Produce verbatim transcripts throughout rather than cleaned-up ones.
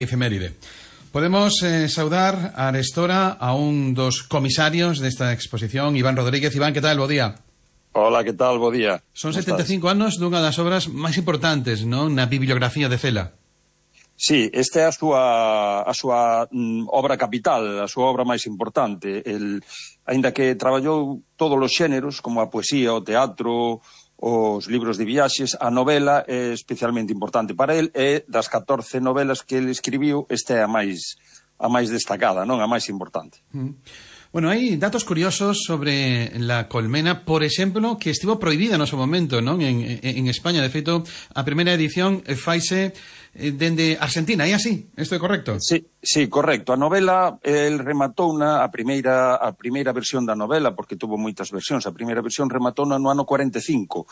Efeméride. Podemos eh, saudar a Arestora a un dos comisarios desta exposición, Iván Rodríguez. Iván, que tal? Bo día. Hola, que tal? Bo día. Son setenta e cinco anos dunha das obras máis importantes, non, na bibliografía de Cela. Sí, esta é a súa, a súa mm, obra capital, a súa obra máis importante. El, aínda que traballou todos os xéneros, como a poesía, o teatro, os libros de viaxes, a novela é especialmente importante para el, e das catorce novelas que ele escribiu, esta é a máis, a máis destacada, non? A máis importante. Mm. Bueno, hai datos curiosos sobre la colmena, por exemplo, que estivo prohibida no seu momento, non? En, en España, de feito, a primeira edición faise dende Argentina, é así? Isto é correcto? Sí, sí, correcto. A novela, el rematou na a primeira a primeira versión da novela, porque tuvo moitas versións. A primeira versión rematou no ano cuarenta e cinco.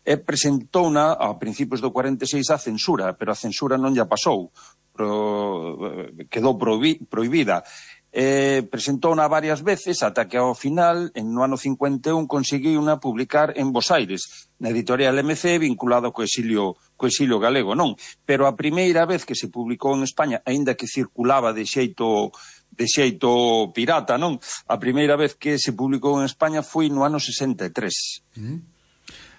E presentouna a principios do cuarenta e seis a censura, pero a censura non lla pasou. Pro, quedou prohibi, prohibida. Eh, presentouna varias veces ata que ao final, en no ano cincuenta e un, conseguiuna publicar en Bos Aires, na editorial M C, vinculado co exilio, co exilio galego, non? Pero a primeira vez que se publicou en España, aínda que circulaba de xeito de xeito pirata, non? A primeira vez que se publicou en España foi no ano sesenta e tres. Mm.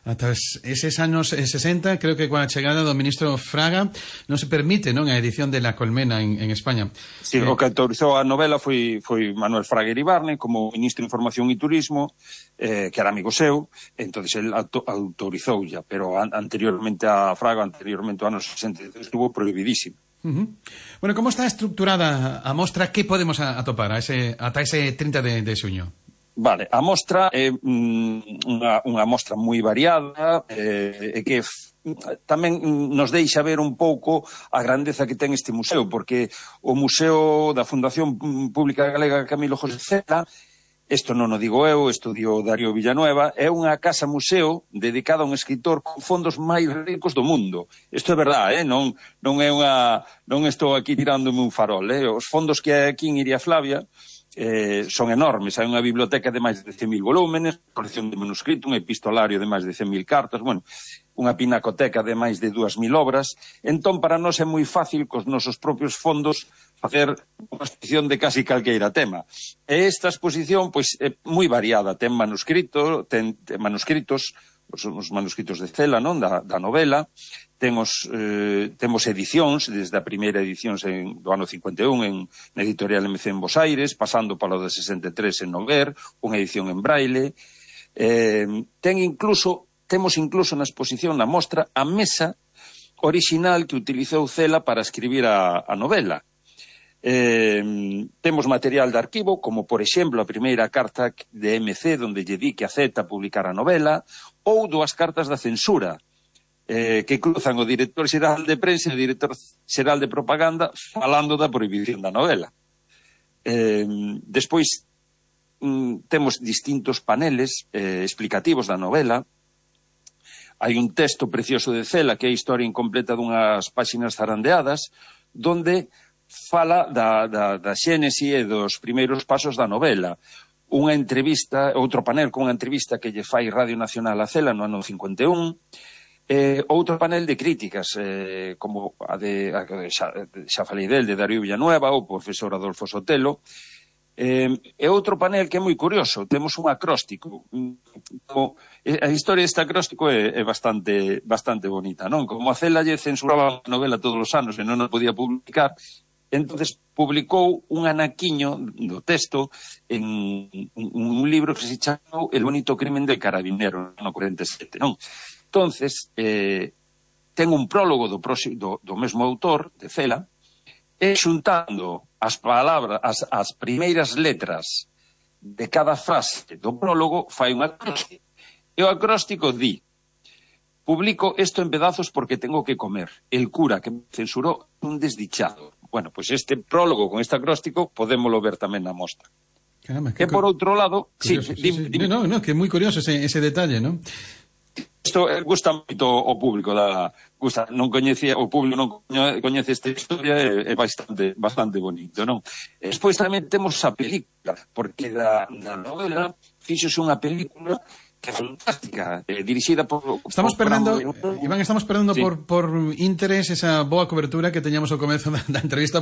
Ata eses anos sesenta, creo que coa chegada do ministro Fraga non se permite, non, a edición de La Colmena en, en España. Sí, eh... o que autorizou a novela foi, foi Manuel Fraga Iribarne, como ministro de Información e Turismo, eh, que era amigo seu, entonces el auto, autorizou ya, pero an, anteriormente a Fraga, anteriormente ao ano sesenta e tres, estuvo prohibidísimo. Uh-huh. Bueno, como está estructurada a mostra? Que podemos atopar a ese, ata ese trinta de, de xuño? Vale, a mostra é mm, unha, unha mostra moi variada eh, e que f, tamén nos deixa ver un pouco a grandeza que ten este museo, porque o Museo da Fundación Pública Galega Camilo José Cela, isto non o digo eu, isto dio Darío Villanueva, é unha casa-museo dedicada a un escritor con fondos máis ricos do mundo. Isto é verdade, eh? non, non é unha, non estou aquí tirándome un farol, eh? Os fondos que hai aquí en Iria Flavia Eh, son enormes, hai unha biblioteca de máis de cen mil volúmenes, colección de manuscrito, un epistolario de máis de cen mil cartas, bueno, unha pinacoteca de máis de dúas mil obras. Entón, para nós é moi fácil cos nosos propios fondos facer unha exposición de casi calqueira tema. E esta exposición, pois, é moi variada, ten manuscrito, ten, ten manuscritos, os, os manuscritos de Cela, non, da, da novela. Temos, eh, temos edicións, desde a primeira edición en, do ano cincuenta e un en, na editorial M C en Bos Aires, pasando palo de sesenta e tres en Noguer, unha edición en braille. Eh, ten incluso, temos incluso na exposición, na mostra, a mesa orixinal que utilizou Cela para escribir a, a novela. Eh, temos material de arquivo, como por exemplo a primeira carta de M C, donde lle di que acepta publicar a novela, ou dúas cartas da censura, Eh, que cruzan o director xeral de prensa e o director xeral de propaganda falando da prohibición da novela. Eh, despois mm, temos distintos paneles eh, explicativos da novela. Hai un texto precioso de Cela que é a historia incompleta dunhas páxinas zarandeadas, donde fala da, da, da xénese e dos primeiros pasos da novela. Unha entrevista, outro panel con unha entrevista que lle fai Radio Nacional a Cela no ano cincuenta e un. Eh, outro panel de críticas, eh, como a de, a, xa, xa falei del, de Darío Villanueva, o profesor Adolfo Sotelo, eh, e outro panel que é moi curioso, temos un acróstico. Como, a historia deste acróstico é, é bastante, bastante bonita, non? Como a Cela lle censuraba a novela todos os anos e non a podía publicar, entonces publicou un anaquiño do texto en un, un libro que se chamou El bonito crimen del carabinero, no cuarenta e sete, non? Entonces, eh, ten un prólogo do, do, do mesmo autor, de Cela, e xuntando as palabras, as, as primeiras letras de cada frase do prólogo, fai un acróstico. E o acróstico di: publico esto en pedazos porque tengo que comer. El cura que me censuró un desdichado. Bueno, pues este prólogo con este acróstico podémoslo ver tamén na mostra. Caramba, e por outro lado... Curioso, sí, sí, sí. Dime. No, no, que é moi curioso ese, ese detalle, non? Isto gusta moito o público da gusta, non coñece, o público non coñece esta historia, é, é bastante bastante bonito, non? E despois tamén temos a película, porque da, da novela fíxose unha película que é fantástica, eh, dirixida por... Estamos por, perdendo, por, Iván, estamos perdendo sí. por, por interés esa boa cobertura que teñamos ao comezo da, da entrevista.